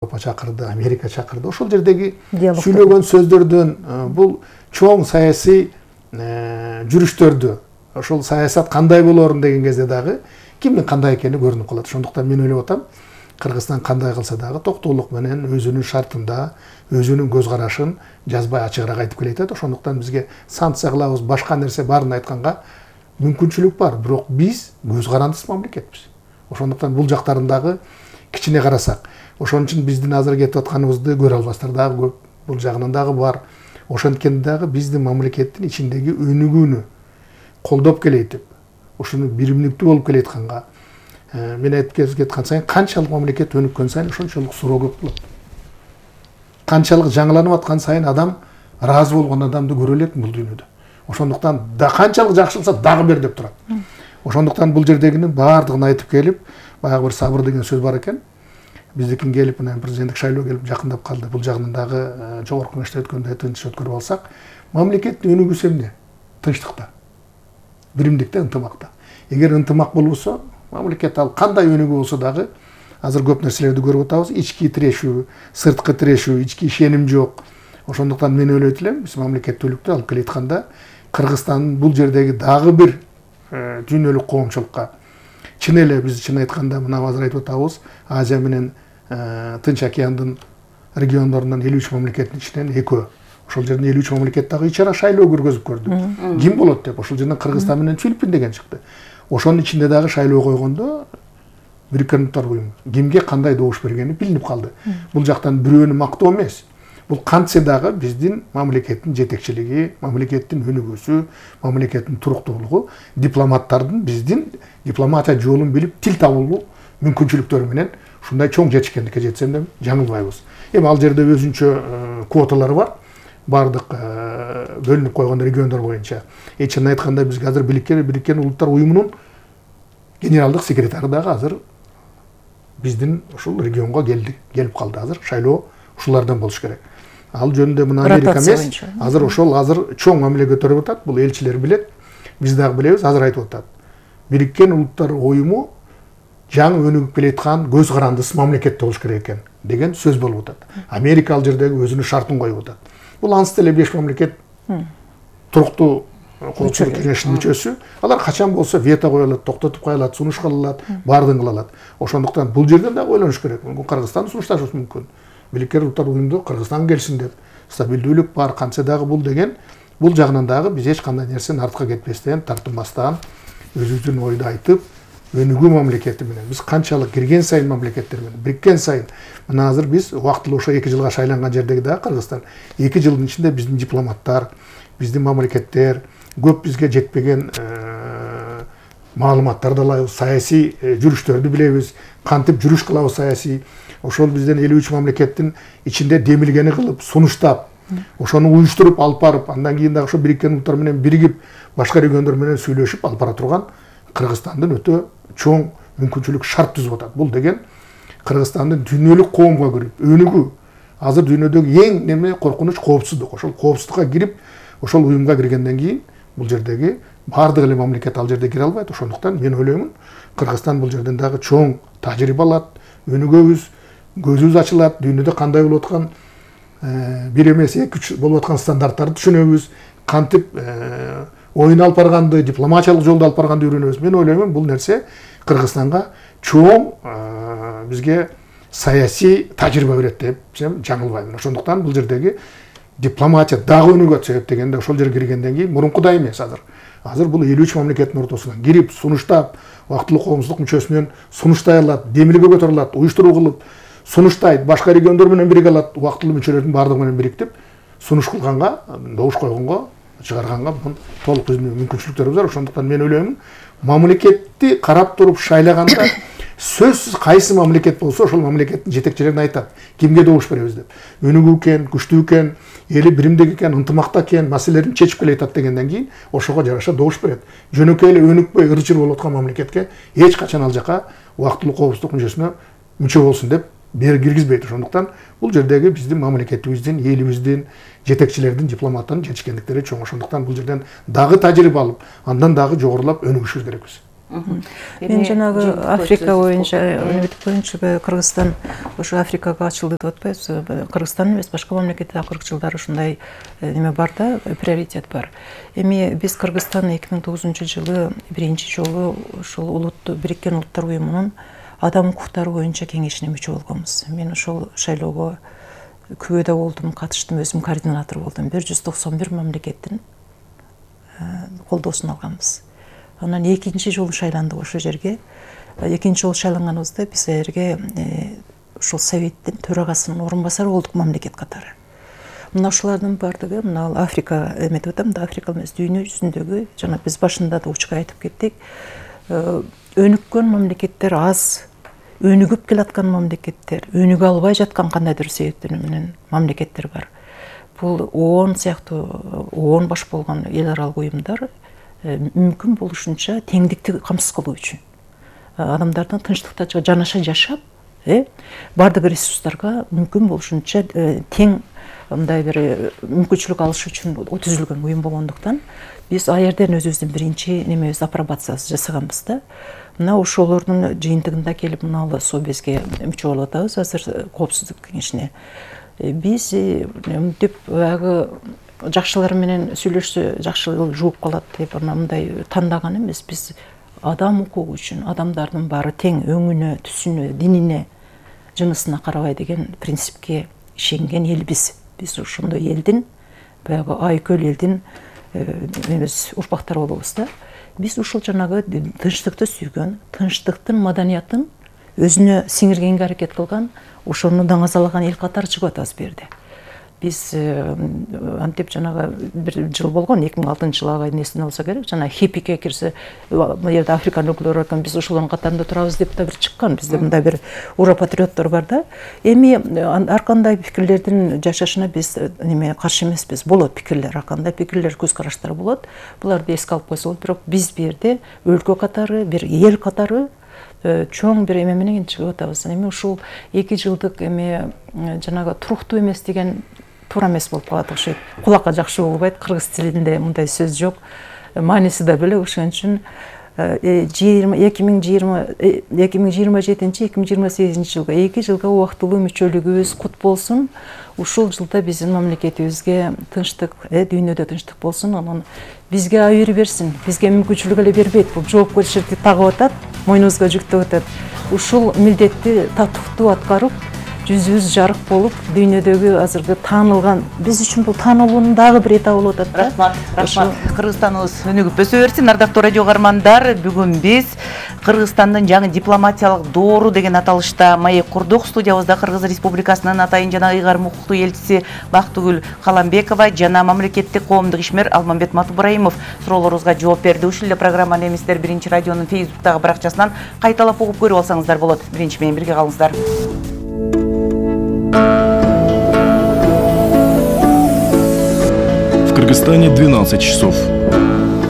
Европа чакырды, Америка чакырды. Ошол жердеги сүйлөгөн сөздөрдөн бул чоң саясий жүрүштөрдү, ошол саясат кандай болорун деген кезде дагы кимдин кандай экени көрүнүп калат. Ошондуктан мен ойлоп атам, Кыргызстан кандай кылса дагы токтоолук менен өзүнүн шартында, өзүнүн көз карашын жазбай ачыгыраак айтып келет. Ошондуктан бизге санкция кылабыз, башка нерсе баарын айтканга мүмкүнчүлүк бар, бирок биз көз карандысыз мамлекетпиз. Ошондуктан бул жактарын дагы кичине карасак, ошон үчүн биздин азыр кетип атканыбызды көрө албастар дагы көп, бул жагынан дагы бар. Ошонткенде дагы биздин мамлекеттин ичиндеги өнүгүүнү колдоп келейтип, ушуну биримдиктүү болуп келатканга мен айтып кеткан сайын канчалык мамлекет өнүккөн сайын ошончолук суроо көп болот. Канчалык жаңыланып аткан сайын адам ыраазы болгон адамды көрө элекмин бул дүйнөдө. Ошондуктан да канчалык жакшы кылса дагы бер деп турат. Ошондуктан бул жердегинин баардыгын айтып келип, баягы бир сабыр деген сөз бар экен. Биздикин келип, мына президенттик шайлоо келип жакындап калды. Бул жагынан дагы жогорку кеңеште өткөндө тынч өткөрүп алсак, мамлекеттин өнүгүүсү эмне? Тынчтыкта, биримдикте, ынтымакта. Эгер ынтымак болбосо, мамлекет ал кандай өнүгүү болсо дагы азыр көп нерселерди көрүп атабыз. Ички тирешүү, сырткы тирешүү, ички ишеним жок. Ошондуктан мен ойлойт элем, биз мамлекеттүүлүктү алып келатканда Кыргызстандын бул жердеги дагы бир дүйнөлүк коомчулукка чын эле биз чын айтканда мына азыр айтып атабыз, Азия менен Тынч океандын региондорунан 53 мамлекеттин ичинен экөө. Ошол жерден 53 мамлекет дагы ичара шайлоо көргөзүп көрдү. Ким болот деп, ошол жерден Кыргызстан менен Филиппин деген чыкты. Ошонун ичинде дагы шайлоо койгондо Бириккен Улуттар уюму кимге кандай добуш бергени билинип калды. Бул жактан бирөөнү мактоо эмес. Бул кантсе дагы биздин мамлекеттин жетекчилиги, мамлекеттин өнүгүүсү, мамлекеттин туруктуулугу, дипломаттардын биздин дипломатия жолун билип тил табуу мүмкүнчүлүктөрү менен ушундай чоң жетишкендикке жетсем деп жаңылбайбыз. Эми ал жерде өзүнчө квоталары бар. Бардык бөлүнүп койгон региондор боюнча. Чын айтканда бизге азыр Бириккен Улуттар уюмунун генералдык секретары дагы азыр биздин ушул регионго келип калды. Азыр шайлоо ушулардан болуш керек. Ал жөнүндө мына Америка эмес, азыр чоң мамиле көтөрүп атат. Бул элчилер билет, биз дагы билебиз, азыр айтып атат. Бириккен Улуттар уюму жаңы өнүгүп келаткан көз карандысыз мамлекет болуш керек экен деген сөз болуп атат. Америка ал жердеги өзүнүн шартын коюп атат. Бул ансы деле 5 мамлекет туруктуу коопсуздук кеңешинин мүчөсү. Алар качан болсо вето кое алат, токтотуп кое алат, сунуш кыла алат, баардыгын кыла алат. Ошондуктан бул жерден дагы ойлонуш керек. Мүмкүн Кыргызстан сунушташыбыз мүмкүн. Бириккен Улуттар уюмунда Кыргызстан келсин деп, стабилдүүлүк бар, кантсе дагы бул деген, бул жагынан дагы биз эч кандай нерсени артка кетпестен, тартынбастан, өзүбүздүн ойду айтып, өнүгүү мамлекети менен биз канчалык кирген сайын мамлекеттер менен бириккен сайын, мына азыр биз убактылуу ошо 2 жылга шайланган жердеги дагы Кыргызстан 2 жылдын ичинде биздин дипломаттар, биздин мамлекеттер көп бизге жетпеген маалыматтарды алабыз, саясий жүрүштөрдү билебиз, кантип жүрүш кылабыз саясий. Ошол бизден 53 мамлекеттин ичинде демилгени кылып, сунуштап, ошону уюштуруп алып барып, андан кийин дагы ошо Бириккен Улуттар менен биригип, башка региондор менен сүйлөшүп алып бара турган Кыргызстандын өтө чоң мүмкүнчүлүк шарт түзүп атат. Бул деген Кыргызстандын дүйнөлүк коомго кирип, өнүгүү. Азыр дүйнөдөгү эң неме коркунуч коопсуздук. Ошол коопсуздукка кирип, ошол уюмга киргенден кийин бул жердеги баардык эле мамлекет ал жерде кире албайт. Ошондуктан мен ойлоймун, Кыргызстан бул жерден дагы чоң тажрыйба алат, өнүгөбүз, көзүбүз ачылат, дүйнөдө кандай болуп аткан бир эмес 2-3 болуп аткан стандарттарды түшүнөбүз, кантип оюн алып барганды, дипломатиялык жолду алып барганды үйрөнөбүз. Мен ойлоймун, бул нерсе Кыргызстанга чоң бизге саясий тажрыйба берет деп жаңылбаймын. Ошондуктан бул жердеги дипломатия дагы өнүгөт, себеп дегенде ошол жерге киргенден кийин мурункудай эмес азыр. Азыр бул 53 мамлекеттин ортосуна кирип, сунуштап, убактылуу коомсуздук мүчөсүнөн сунуштай алат, демилге көтөрө алат, уюштуруу кылып, сунуштайт, башка региондор менен бириге алат, убактылуу мүчөлөрдүн баардыгы менен бириктип, сунуш кылганга, добуш койгонго, чыгарганга толук биздин мүмкүнчүлүктөрүбүз бар. Ошондуктан мен ойлоймун, мамлекетти карап туруп шайлаганда сөзсүз кайсы мамлекет болсо ошол мамлекеттин жетекчилерине айтат, кимге добуш беребиз деп. Өнүгүү экен, күчтүү экен, эли биримдик экен, ынтымакта экен, маселелерин чечип келатат дегенден кийин ошого жараша добуш берет. Жөнөкөй эле өнүкпөй ырчыр болуп аткан мамлекетке эч качан ал жака убактылуу коопсуздук мүчөсүнө мүчө болсун деп киргизбейт. Ошондуктан бул жердеги биздин мамлекетибиздин, элибиздин, жетекчилердин, дипломаттардын жетишкендиктери чоң. Ошондуктан бул жерден дагы тажрыйба алып, андан дагы жогорулап өнүгүшүбүз керекпиз. Мен жанагы Африка боюнча Кыргызстан ошо Африкага ачылды деп атпайбызбы? Кыргызстан эмес, башка мамлекетте акыркы жылдары ушундай неме бар да, приоритет бар. Эми биз Кыргызстан 2009-жылы биринчи жолу ошол Бириккен Улуттар Уюмунун адам укуктары боюнча кеңешине мүчө болгонбуз. Мен ошол шайлоого күбөдө болдум, катыштым, өзүм координатор болдум. 191 мамлекеттин колдоосун алганбыз. Анан экинчи жолу шайландык ошол жерге. Экинчи жолу шайланганыбызда биз жерге ушул советтин төрагасынын орун басары болдук мамлекет катары. Мына ушулардын бардыгы, мына Африка эметип атам да, Африка эмес, дүйнө жүзүндөгү, жана биз башында да учка айтып кеттик, өнүккөн мамлекеттер аз, өнүгүп келаткан мамлекеттер, өнүгө албай жаткан кандайдыр себептер менен мамлекеттер бар. Бул ООН сыяктуу, ООН баш болгон эл аралык уюмдар мүмкүн болушунча теңдикти камсыз кылуу үчүн, адамдардын тынчтыкта жанаша жашап, бардык ресурстарга мүмкүн болушунча тең мындай бир мүмкүнчүлүк алыш үчүн түзүлгөн уюм болгондуктан биз ал жерден өзүбүздүн биринчи немебиз апробациясы жасаганбыз да. Мына ошолордун жыйынтыгында келип мына Совбезге мүчө болуп атабыз азыр коопсуздук кеңешине. Биз мынтип баягы жакшылар менен сүйлөшсө жакшы жууп калат деп мындай тандаган эмес. Биз адам укугу үчүн адамдардын баары тең өңүнө, түсүнө, динине, жынысына карабай деген принципке ишенген элбиз. Биз ошондой элдин, баягы айкөл элдин урпактары болобуз да. Биз ушул жанагы тынчтыкты сүйгөн, тынчтыктын маданиятын өзүнө сиңиргенге аракет кылган, ошону даңазалаган эл катары чыгып атабыз бу жерде. Биз антип жанагы бир жыл болгон, 2006-жылы несин алса керек, жана хиппике кирсе, бул жерде Африканын өкүлдөрү экен, биз ошолордун катарында турабыз деп да бир чыккан. Бизде мындай бир ура патриоттор бар да. Эми ар кандай пикирлердин жашашына биз каршы эмеспиз. Болот пикирлер, ар кандай пикирлер, көз караштар болот. Буларды эске алып койсо болот, бирок биз бу жерде өлкө катары, бир эл катары чоң бир эме менен чыгып атабыз. Эми ушул 2 жылдык эме жанагы туруктуу эмес деген туура эмес болуп калат окшойт. Кулакка жакшы болбойт, кыргыз тилинде мындай сөз жок. Мааниси да бөлөк, ошон үчүн 2027-2028 жылга 2 жылга убактылуу мүчөлүгүбүз кут болсун. Ушул жылда биздин мамлекетибизге тынчтык, дүйнөдө тынчтык болсун. Анан бизге айыр берсин, бизге мүмкүнчүлүк эле бербейт. Бул жоопкерчиликти тагып атат, мойнубузга жүктөп атат. Ушул милдетти татыктуу аткарып, жүзүбүз жарык болуп, дүйнөдөгү азыркы таанылган, биз үчүн бул таанылуунун дагы бир этабы болуп атат. Рахмат. Кыргызстаныбыз өнүгүп өсө берсин. Ардактуу радио угармандар, бүгүн биз Кыргызстандын жаңы дипломатиялык доору деген аталышта маек курдук. Студиябызда Кыргыз Республикасынын атайын жана ыйгарым укуктуу элчиси Бактыгүл Каламбекова жана мамлекеттик коомдук ишмер Алмамбет Матубраимов суроолорубузга жооп берди. Ушул эле программаны эместер Биринчи радионун Фейсбуктагы баракчасынан кайталап угуп көрүп алсаңыздар болот. Биринчи менен бирге калыңыздар. В Кыргызстане 12 часов.